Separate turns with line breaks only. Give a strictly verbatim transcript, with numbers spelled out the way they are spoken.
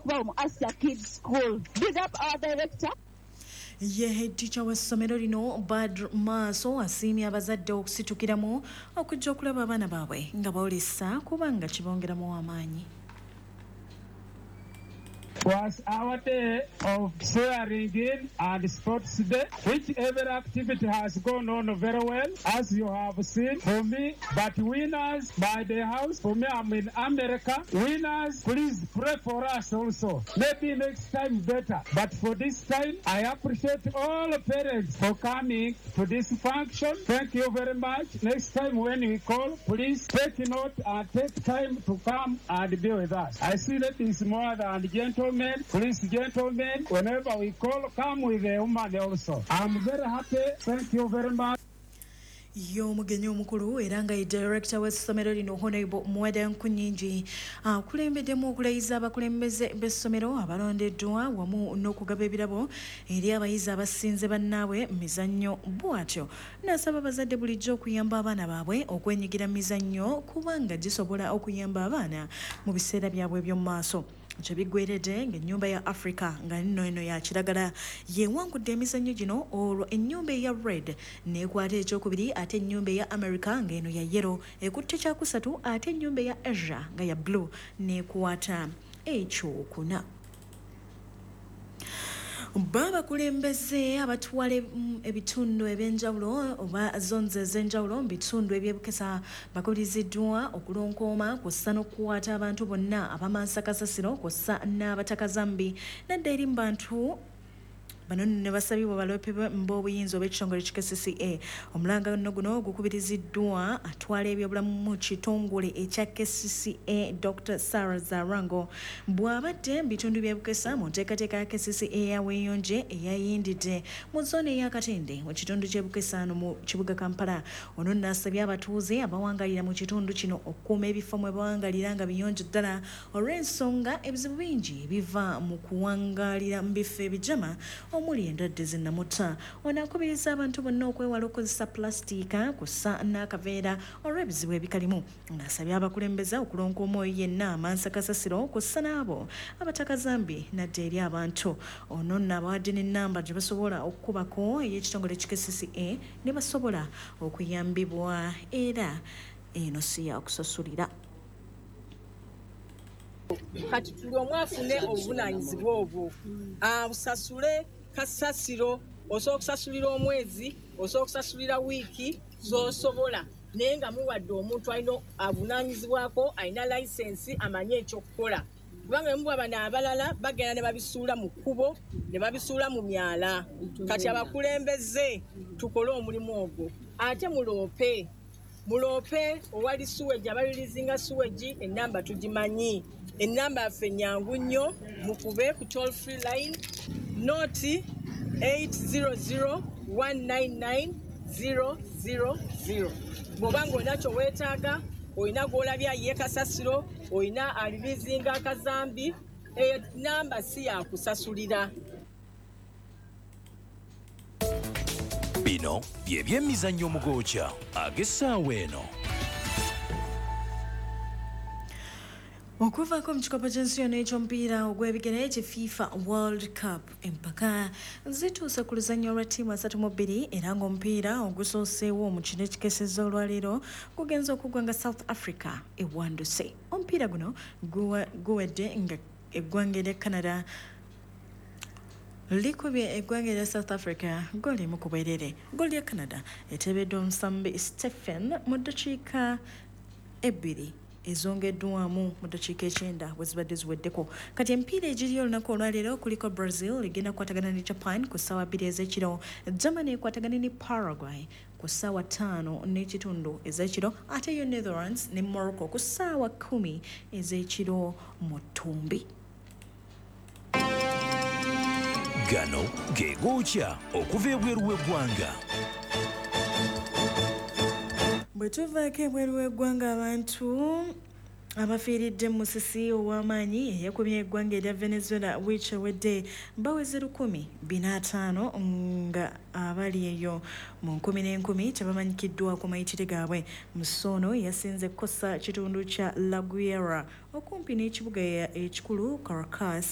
okubawo mu Asia Kids School. Big up our director.
Ye head teacher w'essomero lino, Badr Maaso, asiimye abazadde okusitukiramu okujja okulaba abaana baabwe nga boolesa, kubanga kibongeramu amaanyi.
Was our day of swearing in and sports day, which every activity has gone on very well, as you have seen. For me, but winners by the house, for me, I'm in America. Winners, please pray for us also. Maybe next time better. But for this time, I appreciate all parents for coming to this function. Thank you very much. Next time when we call, please take note and take time to come and be with us. I see that it's more than gentlemen. Please, gentlemen, whenever we call, come with a woman also. I'm very happy. Thank you very much.
Ye omugenyi omukulu era nga ye director w'essomero lino, Honorable Muwada Nkunyingi, akulembeddemu okulayiza abakulembeze b'essomero abalondeddwa wamu n'okugaba ebirabo eri abayizi abasinze bannaabwe mu mizannyo. Bw'atyo n'asaba abazadde bulijjo okuyamba abaana baabwe okwenyigira mu mizannyo, kubanga gisobola okuyamba abaana mu biseera byabwe eby'omu maaso. Kye biggweredde ng'ennyumba ya Africa, nga nno eno ya kiragala, yewangudde emizannyo gino, olwo ennyumba eya red n'ekwata ekyokubiri, ate ennyumba eya America, ng'eno ya yellow, ekutte kyakusatu, ate ennyumba eya Asia, nga ya blue, n'ekwata ekyokuna. Ba abakulembeze abatwala ebitundu ebyenjawulo oba zones ez'enjawulo mu bitundu ebyebukesa bakubiriziddwa okulonkooma kw'ossa n'okukwata abantu bonna abamansa kasasiro kw'ossa n'abatakazambi nadda eri mu bantu. Bano nno ne basabibwa baloope b'obuyinza oba ekitongole ki K C C A. Omulanga nno guno gukubiriziddwa atwala ebyobulamu mu kitongole ekya K C C A, Doctor Sarah Zarango, bw'abadde mu bitundu by'e Bukesa mu nteekateeka ya K C C A eya Weeyonje eyayindidde mu zone ey'Akatende mu kitundu ky'e Bukesa no mu kibuga Kampala. Ono nno asabye abatuuze abawangalira mu kitundu kino okukuuma ebifo mwe bawangalira nga biyonjo ddala, olw'ensonga ebizibu bingi ebiva mu kuwangalira mu bifo ebijama omuli endwadde zinnamutta. Ono akubiriza abantu bonna okwewala okukozesa pulasitiika kw'ossa n'akaveera olw'ebizibu ebikalimu. Ng'asabye abakulembeze okulonka omwoyo yenna amansa kasasiro kw'ossa n'abo abatakazambi nadda eri abantu. Ono nno abawadde n'ennamba gye basobola okukubako ey'ekitongole ki K C C A ne basobola okuyambibwa, era eno si yakusasulira.
Kati tuli omu afune obuvunaanyizibwa obwo, asasule kasasiro. Osobola okusasulira omwezi, osobola okusasulira wiiki z'osobola, naye nga muwadde omuntu alina avunaanyizibwako, alina layisensi, amanye ekyokukola, kubanga muba bano abalala bagenda ne babisuula mu kkubo, ne babisuula mu myala. Kati abakulembeze tukole omulimu ogwo, ate muloope, muloope owali sewage, abareleasinga sewage. Enamba tugimanyi, enamba yaffe nyangu nnyo. Mukube ku toll free line nought eight zero zero one nine nine zero zero zero. Bw'oba ng'olina kyoweetaaga, olina gw'olabye ayiye kasasiro, olina areleasinga akazambi, eyo namba si yakusasulira.
Bino bye byemizannyo omugooca ag'essaawa eno.
Okuvaako mu kikopo ky'ensi yonna eky'omupiira ogw'ebigere ki FIFA World Cup, empaka zituuse ku luzannya olwa ttiimu asatu mu bbiri, era ng'omupiira ogusooseewo mu kino ekikesezza olwaleero gugenza okuggwa nga South Africa ewanduse. Omupiira guno guwa- guwedde nga eggwanga erya Canada likubye eggwanga erya South Africa ggooli emu ku bwerere. Ggooli ya Canada eteebeddwa omusambi Stephen mu ddakiika ebbiri ezongeddwamu mu ddakiika ekyenda bwe zibadde ziweddeko. Kati emipiira egiri olunaku olwaleero kuliko Brazil egenda kukwatagana ne Japan ku ssaawa bbiri ez'ekiro, Germany ekwatagane ne Paraguay ku ssaawa ttaano n'ekitundu ez'ekiro, ate yo Netherlands ne Morocco ku ssaawa kkumi ez'ekiro mu ttumbi.
Gano ge gookya okuva ebweru w'eggwanga.
Bwe tuvaako ebweru w'eggwanga, abantu abafiiridde mu musisi ow'amaanyi eyakubye eggwanga erya Venezuela wiiki ewedde baweze lukumi bina ataano, nga abali eyo mu nkumi n'enkumi tebamanyikiddwa ku mayitire gaabwe. Musisi ono yasinze kukosa kitundu kya La Guaira okumpi n'ekibuga ekikulu Caracas.